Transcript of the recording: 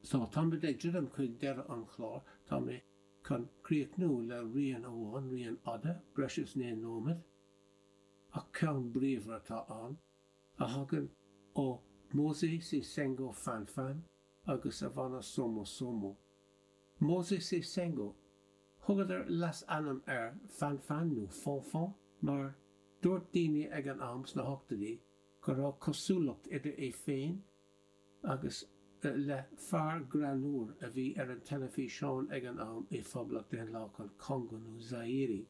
So, táimid ag druidim chuig deireadh an chláir. Tá mé chun críochnú le rian amháin, rian fhada, breis is 9 nóiméad, ach ceann bríomhar atá ann, a thagann ó Mosé Si-Sengo Fanfan agus a bhanna Somo Somo. Mosé Si-Sengo, thugadar leasainm air Fanfan nó Fonfon mar dúirt daoine ag an am sna hochtóidí go raibh cosúlacht idir é féin agus le fear greannmhar a bhí ar an teilifíseán ag an am i Phoblacht Daonlathach an Chongo nó Zaire.